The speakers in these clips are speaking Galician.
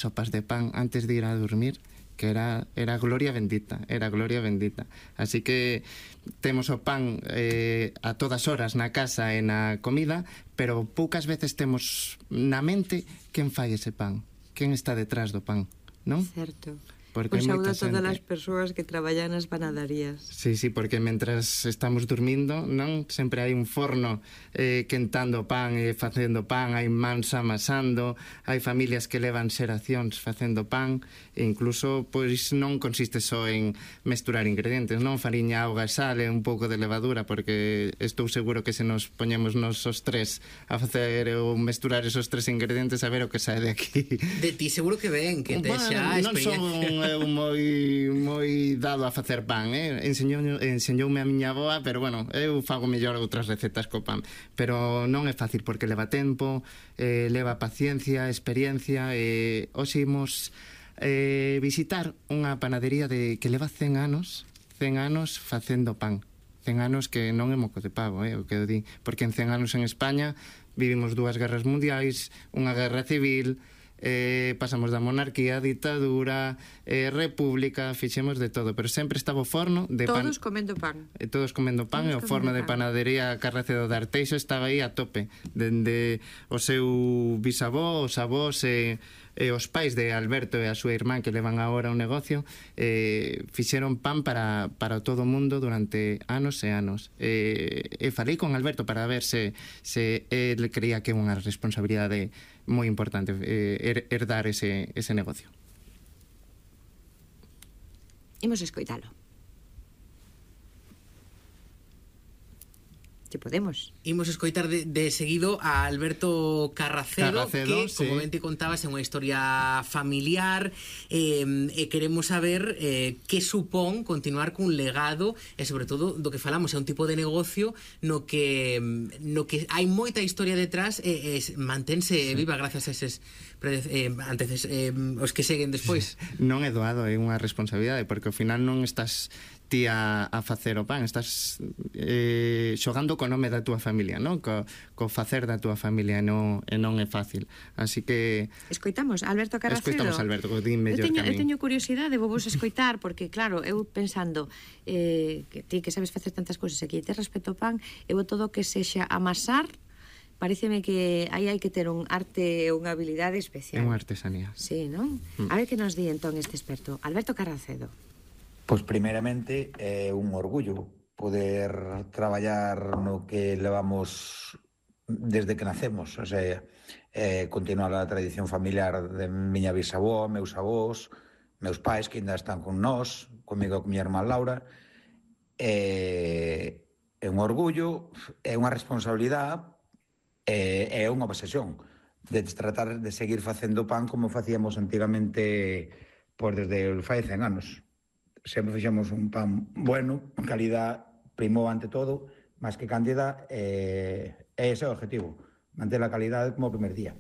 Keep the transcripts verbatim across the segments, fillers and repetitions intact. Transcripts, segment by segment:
sopas de pan antes de ir a dormir, que era, era gloria bendita, era gloria bendita. Así que temos o pan eh, a todas horas na casa e na comida, pero poucas veces temos na mente quen fai ese pan, quen está detrás do pan, non? Certo. Porque un saúdo a todas xente... as persoas que traballan nas panaderías. Sí, sí, porque mentras estamos dormindo, non? Sempre hai un forno eh, quentando pan e facendo pan, hai mans amasando, hai familias que levan xeracións facendo pan, e incluso, pois, non consiste só en mesturar ingredientes, non? Fariña, auga e sal e un pouco de levadura, porque estou seguro que se nos poñemos nos os tres a facer ou mesturar esos tres ingredientes, a ver o que sae de aquí. De ti seguro que ven, que te bueno, xa non son eu moi moi dado a facer pan, eh? Enseñou, enseñoume a miña avoa, pero bueno, eu fago mellor outras recetas co pan, pero non é fácil porque leva tempo, eh, leva paciencia, experiencia, e eh, hoxe imos eh, visitar unha panadería de que leva cen anos, cen anos facendo pan. cen anos que non é moco de pavo, eh, o que eu di, porque en cen anos en España vivimos dúas guerras mundiais, unha guerra civil, eh, pasamos da monarquía, ditadura, eh, república, fixemos de todo, pero sempre estaba o forno de pan, todos comendo pan, eh, todos comendo pan, todos e o forno de panadería Carracedo de Arteixo estaba aí a tope, dende o seu bisavó, os avós e, e os pais de Alberto e a súa irmán que levan agora un negocio, eh, fixeron pan para, para todo o mundo durante anos e anos, e, e falei con Alberto para ver se, se ele creía que é unha responsabilidade moi importante eh, herdar ese, ese negocio. Imos escoitalo. Que podemos. Imos escoitar de, de seguido a Alberto Carracedo, Carracedo, que, como sí. ben te contabas, é unha historia familiar, eh, e queremos saber eh, que supón continuar cun legado, e sobre todo do que falamos, é un tipo de negocio no que no que hai moita historia detrás, e, e mantense sí. viva gracias a eses eh, antes eh, os que seguen despois. Non é doado, é unha responsabilidade, porque ao final non estás ti a, a facer o pan, estás eh, xogando co nome da túa familia, non? Co, co facer da túa familia, e non, e non é fácil. Así que... Escoitamos Alberto Carracedo. Escoitamos Alberto, que din mellor eu teño, que a min. Eu teño curiosidade, vou vos escoitar, porque claro, eu pensando eh, que ti que sabes facer tantas cousas aquí, te respeto o pan, eu todo que sexa amasar, pareceme que aí hai que ter un arte e unha habilidade especial. É unha artesanía. Sí, non? Mm. A ver que nos di entón este experto, Alberto Carracedo. Pois primeiramente é un orgullo poder traballar no que levamos desde que nacemos, o sea, eh, continuar a tradición familiar de miña bisavó, meus avós, meus pais que ainda están con nós, comigo e con miña irmá Laura. É, é un orgullo, é unha responsabilidade, é, é unha obsesión de tratar de seguir facendo pan como facíamos antigamente, pois desde fai cen anos. Sempre fixemos un pan bueno, calidad primou ante todo, máis que cantidad, e eh, ese é o objetivo, manter a calidade como o primer día.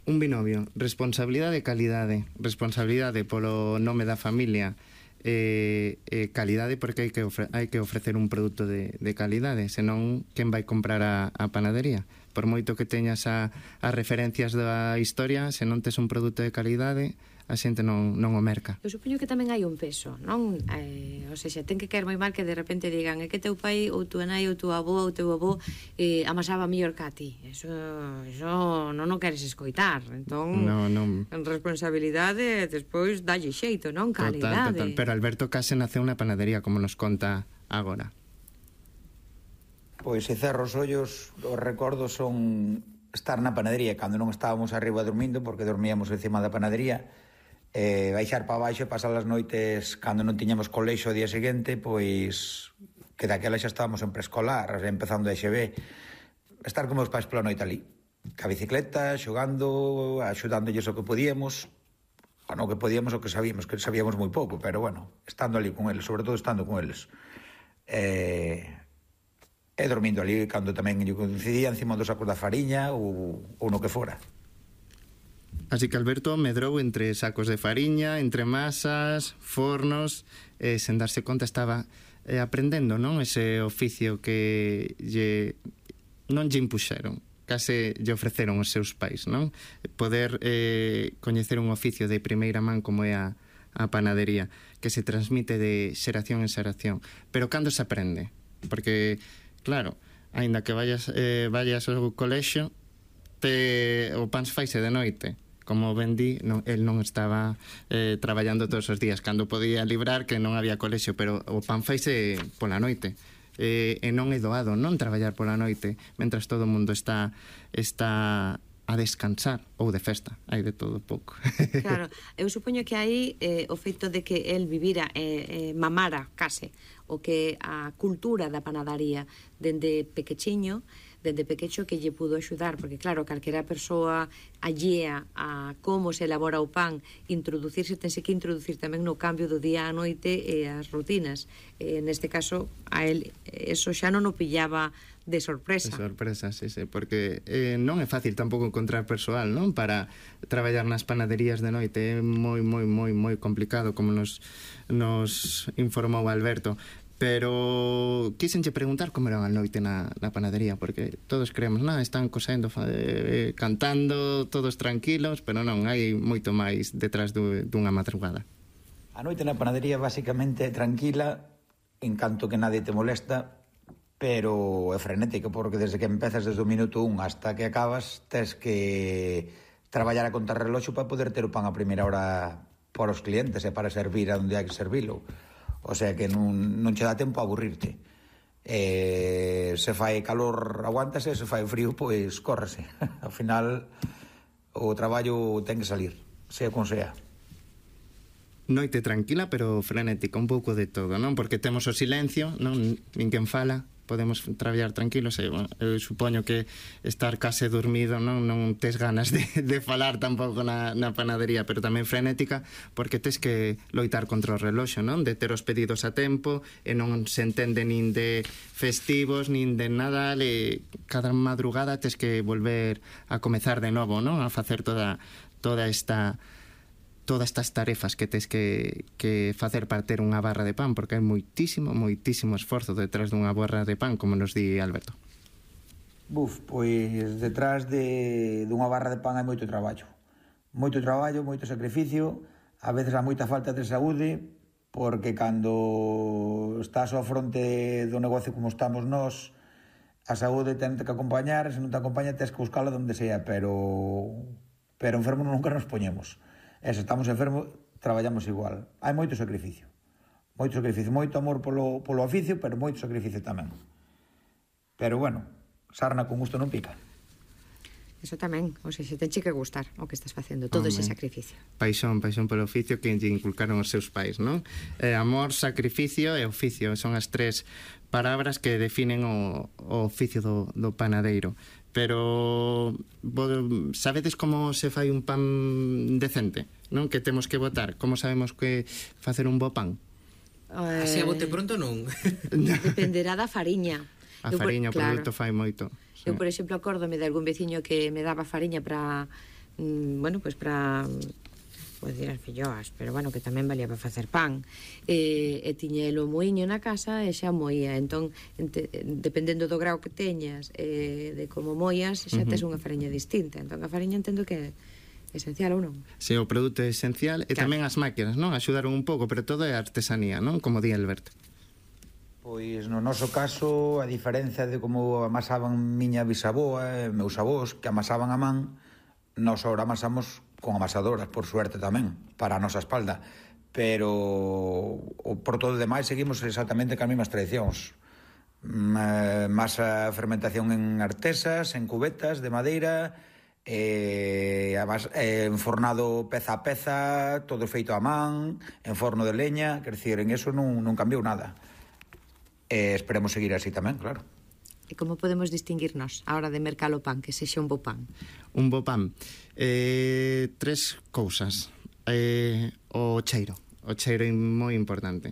Un binomio, responsabilidade e calidade, responsabilidade polo nome da familia, e eh, eh, calidade porque hai que, ofre hai que ofrecer un produto de, de calidade, senón quen vai comprar a, a panadería? Por moito que teñas a, as referencias da historia, se non tes un produto de calidade, a xente non, non o merca. Eu supoño que tamén hai un peso, non? Eh, ou seja, ten que caer moi mal que de repente digan é que teu pai ou tua nai ou tua avó ou teu avó eh, amasaba mellor que a ti. Eso, eso non o queres escoitar. Entón, no, non. Responsabilidade, despois dalle xeito, non? Calidade. Total, total. Pero Alberto case naceu na panadería, como nos conta agora. Pois se cerro os ollos, os recordos son estar na panadería cando non estábamos arriba dormindo, porque dormíamos encima da panadería, eh, baixar para baixo e pasar as noites cando non tiñamos colexo o día seguinte, pois que daquela xa estábamos en preescolar, empezando a X B, estar como os pais pola noite ali, ca bicicleta, xogando, axudándoles o que podíamos, o non que podíamos o que sabíamos, que sabíamos moi pouco, pero bueno, estando ali con eles, sobre todo estando con eles. Eh, e dormindo ali cando tamén yo coincidía encima dos sacos da fariña ou, ou no que fora. Así que Alberto medrou entre sacos de fariña, entre masas, fornos, e sen darse conta estaba eh, aprendendo, non? Ese oficio que lle, non lle impuxeron, case lle ofreceron os seus pais, non? Poder eh, coñecer un oficio de primeira man como é a, a panadería, que se transmite de xeración en xeración. Pero cando se aprende? Porque, claro, aínda que vayas, eh, vayas ao colexio, te, o pan faise de noite. Como ben di, non, el non estaba eh, traballando todos os días, cando podía librar que non había colexio, pero o pan faise pola noite. Eh, e non é doado non traballar pola noite mentras todo o mundo está está a descansar ou de festa, hai de todo pouco. Claro, eu supoño que aí eh, o feito de que el vivira eh, eh, mamara case o que a cultura da panadaría dende pequechiño, dende pequecho que lle pudo axudar, porque claro, calquera persoa allea a como se elabora o pan, introducirse, tense que introducir tamén no cambio do día á noite e as rutinas. Eh, neste caso, a él eso xa non o pillaba de sorpresa. De sorpresa, sí, sí, porque eh, non é fácil tampouco encontrar persoal, non? Para traballar nas panaderías de noite, é moi, moi, moi, moi complicado, como nos, nos informou Alberto. Pero quísenche preguntar como era a noite na, na panadería, porque todos creemos, non, están cosendo, eh, cantando, todos tranquilos, pero non, hai moito máis detrás du, dunha madrugada. A noite na panadería basicamente é tranquila, en canto que nadie te molesta, pero é frenética, porque desde que empezas desde o minuto un hasta que acabas, tes que traballar a contar reloxo para poder ter o pan a primeira hora para os clientes e para servir a onde hai que servilo. O sea que non, non che dá tempo a aburrirte. Eh, se fai calor aguántase, se fai frío pois córrese. Ao final o traballo ten que salir, sea con sea. Noite tranquila, pero frenética, un pouco de todo, non? Porque temos o silencio, non? Nin quen fala, podemos traballar tranquilos e, bueno, eu supoño que estar case dormido non non tes ganas de, de falar tampouco na, na panadería, pero tamén frenética porque tes que loitar contra o reloxo, non? De ter os pedidos a tempo e non se entende nin de festivos nin de Nadal e cada madrugada tes que volver a comezar de novo, non? A facer toda toda esta todas estas tarefas que tes que, que facer para ter unha barra de pan, porque hai moitísimo, moitísimo esforzo detrás dunha barra de pan, como nos di Alberto. Buf, pois detrás de dunha barra de pan hai moito traballo. Moito traballo, moito sacrificio, a veces há moita falta de saúde, porque cando estás ao fronte do negocio como estamos nós, a saúde ten que acompañar, se non te acompaña tens que buscala onde sea, pero pero enfermos nunca nos poñemos. E se estamos enfermos, traballamos igual. Hai moito sacrificio. Moito sacrificio, moito amor polo, polo oficio, pero moito sacrificio tamén. Pero bueno, sarna con gusto non pica. Eso tamén, ou seja, tenche que gustar o que estás facendo, todo ese sacrificio. Paixón, paixón polo oficio que lle inculcaron os seus pais, non? Eh, amor, sacrificio e oficio, son as tres palabras que definen o, o oficio do, do panadeiro. Pero sabedes como se fai un pan decente, non? Que temos que botar, como sabemos que facer un bo pan? Eh, Así a bote pronto non. Dependerá da fariña. A Eu, fariña, o claro, produto fai moito. Sí. Eu, por exemplo, acórdome de algún veciño que me daba fariña para, mm, bueno, pues para, pois dir as filloas, pero bueno, que tamén valía para facer pan. E, e tiñelo moiño na casa e xa moía. Entón, ente, dependendo do grau que teñas e de como moias, xa tes unha fariña distinta. Entón, a fariña entendo que é esencial ou non? Sí, o produto é esencial e claro. Tamén as máquinas, non? Axudaron un pouco, pero todo é artesanía, non? Como di Alberto. Pois no noso caso, a diferencia de como amasaban miña bisaboa e meus avós, que amasaban a man, nós ahora amasamos con amasadoras, por suerte tamén, para a nosa espalda. Pero o, por todo demais seguimos exactamente cas mesmas tradicións. Masa fermentación en artesas, en cubetas de madeira, eh, enfornado peza a peza, todo feito a man, en forno de leña, quer dizer, en eso non, non cambiou nada. E esperemos seguir así tamén, claro. E como podemos distinguirnos a hora de mercar o pan, que sexa un bo pan? Un bo pan. Eh, tres cousas. Eh, o cheiro. O cheiro é moi importante.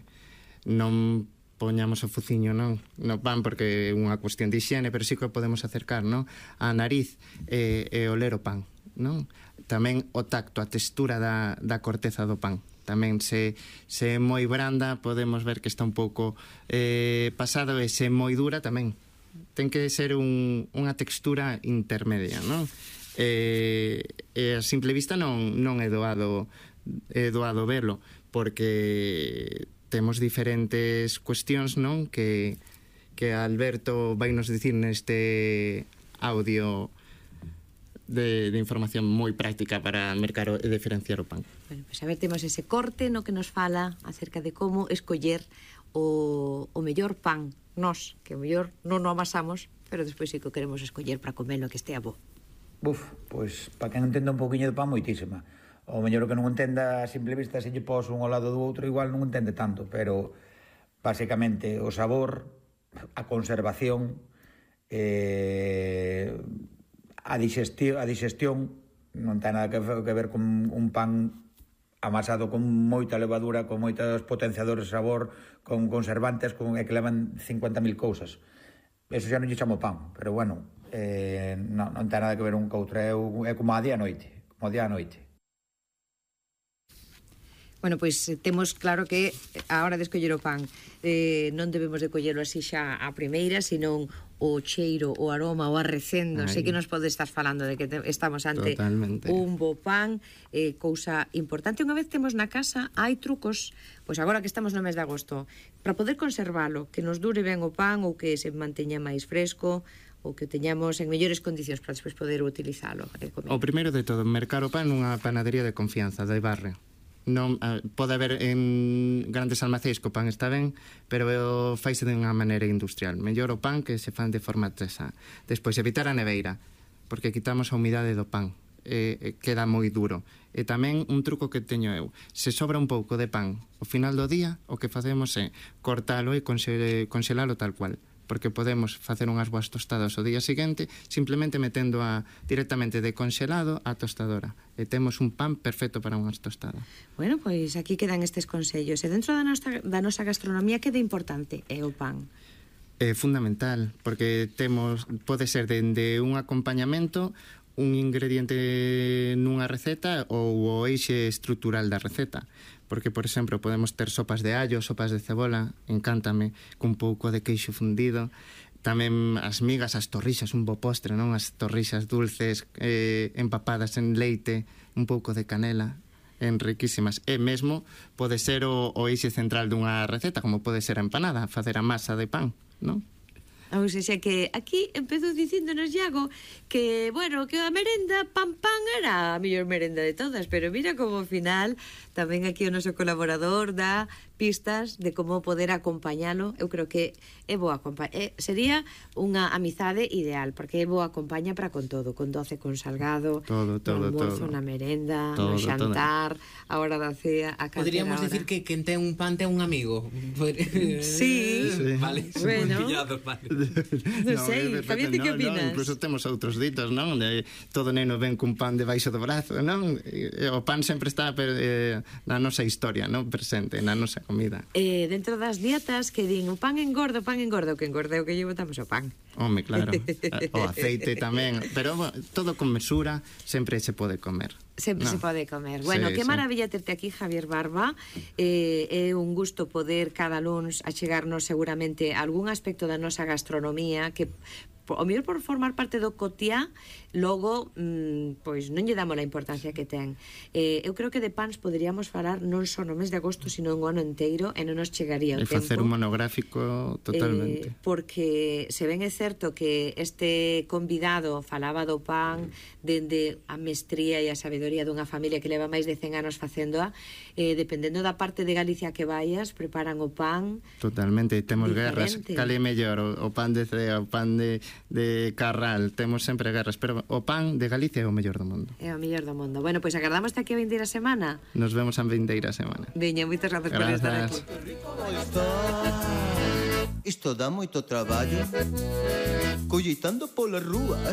Non poñamos o fuciño, non, no pan porque é unha cuestión de higiene, pero sí que podemos acercar, non, a nariz e, e oler o pan, non? Tamén o tacto, a textura da, da corteza do pan. Tamén se, se é moi branda podemos ver que está un pouco eh, pasado, e se é moi dura tamén ten que ser un, unha textura intermedia, non? E, e a simple vista non, non é doado é doado verlo, porque temos diferentes cuestións, non? Que, que Alberto vai nos dicir neste audio de, de información moi práctica para mercar e diferenciar o pan. Bueno, pues a ver, temos ese corte no que nos fala acerca de como escoller o, o mellor pan, nós, que o mellor non o amasamos, pero despois sí que o queremos escoller para comelo que estea bo. Buf, pois, para quen entenda un poquinho de pan, moitísima. O mellor que non entenda a simple vista, se lle pos un ao lado do outro, igual non entende tanto, pero basicamente o sabor, a conservación, eh, a digestión, a digestión non ten nada que, que ver con un pan amasado con moita levadura, con moitos potenciadores de sabor, con conservantes, con, e que levan cincuenta mil cousas. Eso xa non lle chamo pan, pero bueno, eh, non, non ten nada que ver un co outro, é, é como a día a noite, como a día a noite. Bueno, pois temos claro que a hora de escoller o pan eh, non debemos de collelo así xa a primeira, senón o cheiro, o aroma, o arrecendo. Ay. Sei que nos pode estar falando de que te, estamos ante Totalmente. Un bo pan, eh, cousa importante. Unha vez temos na casa, hai trucos, pois agora que estamos no mes de agosto, para poder conservalo, que nos dure ben o pan ou que se manteña máis fresco, ou que teñamos en mellores condicións para despois poder utilizalo. O primeiro de todo, mercar o pan nunha panadería de confianza, de barrio. Non, uh, pode haber en grandes almacéns que o pan está ben, pero faise de unha maneira industrial. Mellor o pan que se fan de forma artesá. Despois, evitar a neveira, porque quitamos a humidade do pan, e, e queda moi duro. E tamén un truco que teño eu, se sobra un pouco de pan ao final do día, o que facemos é cortalo e conxelalo tal cual, porque podemos facer unhas boas tostadas o día seguinte simplemente metendo a directamente de conxelado á tostadora e temos un pan perfecto para unhas tostadas. Bueno, pois aquí quedan estes consellos. E dentro da nosa, da nosa gastronomía, que de importante é o pan? É fundamental, porque temos, pode ser dende un acompañamento, un ingrediente nunha receta ou o eixe estrutural da receta. Porque, por exemplo, podemos ter sopas de allo, sopas de cebola, encántame, cun pouco de queixo fundido. Tamén as migas, as torrixas, un bo postre, non? As torrixas dulces, eh, empapadas en leite, un pouco de canela, enriquísimas. E mesmo pode ser o, o eixe central dunha receta, como pode ser a empanada, facer a masa de pan, non? Ou seja, que aquí empezou dicíndonos Iago que, bueno, que a merenda pan pan era a mellor merenda de todas, pero mira como ao final tamén aquí o noso colaborador dá pistas de como poder acompañalo. Eu creo que é boa acompaña, eh, sería unha amizade ideal, porque é boa acompaña para con todo, con doce, con salgado, todo, todo, no almozo, todo. na merenda, todo, no xantar, todo. a hora da cea, a calquera Podríamos hora. decir que quen ten un pan ten un amigo. Sí, sí. Vale, bueno. moi pillado, vale. Non sei, Javier, ti que no, opinas? No, incluso temos outros ditos, non? De, todo neno ven cun pan debaixo do brazo, non? E, o pan sempre está eh, na nosa historia, non? Presente, na nosa comida. Eh, dentro das dietas que din o pan engorda, o pan engorda, o que engorda é o que lle botamos ao pan. Home, claro. O aceite tamén, pero todo con mesura, sempre se pode comer. Sempre no. se pode comer. Bueno, sí, que sí. maravilla terte aquí, Javier Barba. Eh, é un gusto poder cada luns achegarnos seguramente a algún aspecto da nosa gastronomía que o mellor por formar parte do cotiá, logo mmm, pois non lle damos a importancia que ten. Eh, eu creo que de pans poderíamos falar non só no mes de agosto, sino en o ano inteiro, e non nos chegaría o e tempo. facer un monográfico totalmente. Eh, porque se ben é certo que este convidado falaba do pan dende a mestría e a sabedoría dunha familia que leva máis de cen anos facéndoa, eh, dependendo da parte de Galicia que vayas, preparan o pan totalmente, temos diferente. Guerras, cal é mellor, o, o pan de cea, o pan de de Carral, temos sempre guerras, pero o pan de Galicia é o mellor do mundo. É o mellor do mundo. Bueno, pois pues agardamos aquí a vindeira semana. Nos vemos a vindeira semana. Veña, moitas grazas por estar aquí. Isto dá moito traballo, colleitando polas rúas,